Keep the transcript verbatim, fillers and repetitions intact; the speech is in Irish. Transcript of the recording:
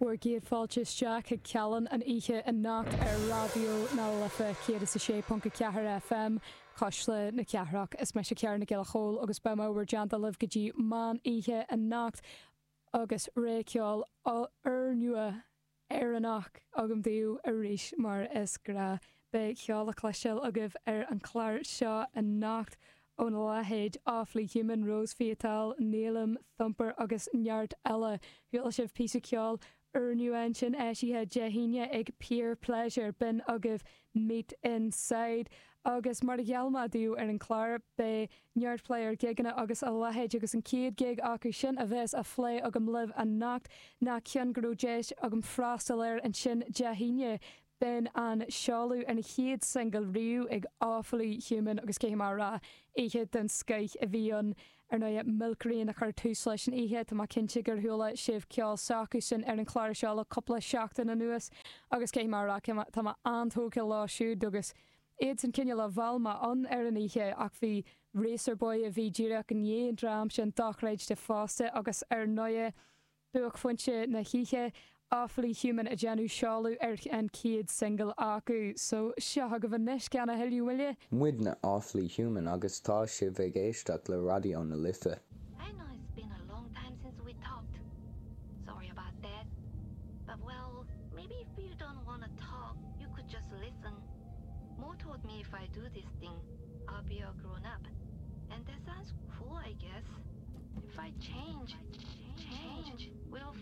Bhur gcéad fáilte isteach chuig Cealann an oíche anocht ar Raidió na Life céad is a sé ponc a ceathair FM, Cuisle na Cathrach. Is mise Ciara Nic Giolla Chóill agus beidh mé i bhur dteannta libh go dtí meán oíche anocht agus rogha ceoil úrnua Éireannach agam daoibh arís mar is gnáth. Beidh ceol le cloisteáil agaibh ar an chlár seo anocht óna leithéid Awfully Human, Rose Viatal, Nílim, Thumper agus neart eile. Chuala sibh píosa ceoil úrnua ansin eisithe Dé hAoine ag Peer Pleasure, b'in agaibh Meet Inside. Agus mar a gheall mé daoibh ar an chlár, beidh neart plé ar ghigeanna agus a leithéid agus an chéad ghig acu sin a bheas á phlé agam libh anocht ná ceann go raibh deis agam freastal air ansin Dé hAoine. B'in an seoladh ar an chéad singil riamh ag Awfully Human agus caithfidh mé a rá, oíche den scoith a bhí ann. Ar ndóigh, Milk Rain a chuir tús leis an oíche, tá mé cinnte gur chuala sibh ceol s'acusan ar an chlár seo le cúpla seachtain anuas agus caithfidh mé a rá, tá mé an-tógtha leo siúd agus iadsan cineál a mheall mé ann ar an oíche ach bhí Racer Boy a bhí díreach i ndiaidh an dream sin dochreidte fosta agus ar ndóigh, Buaicphointe na hoíche, Awfully Human ag déanamh seoladh ar an chéad singil acu. So, seo agaibh anois gan a thuilleadh moille. Muidne Awfully Human agus tá sibh ag éisteacht le Raidió na Life. I know it's been a long time since we talked. Sorry about that. But well, maybe if you don't want to talk, you could just listen. Mo told me if I do this thing, I'll be a grown up. And that sounds cool, I guess. If I change, change, will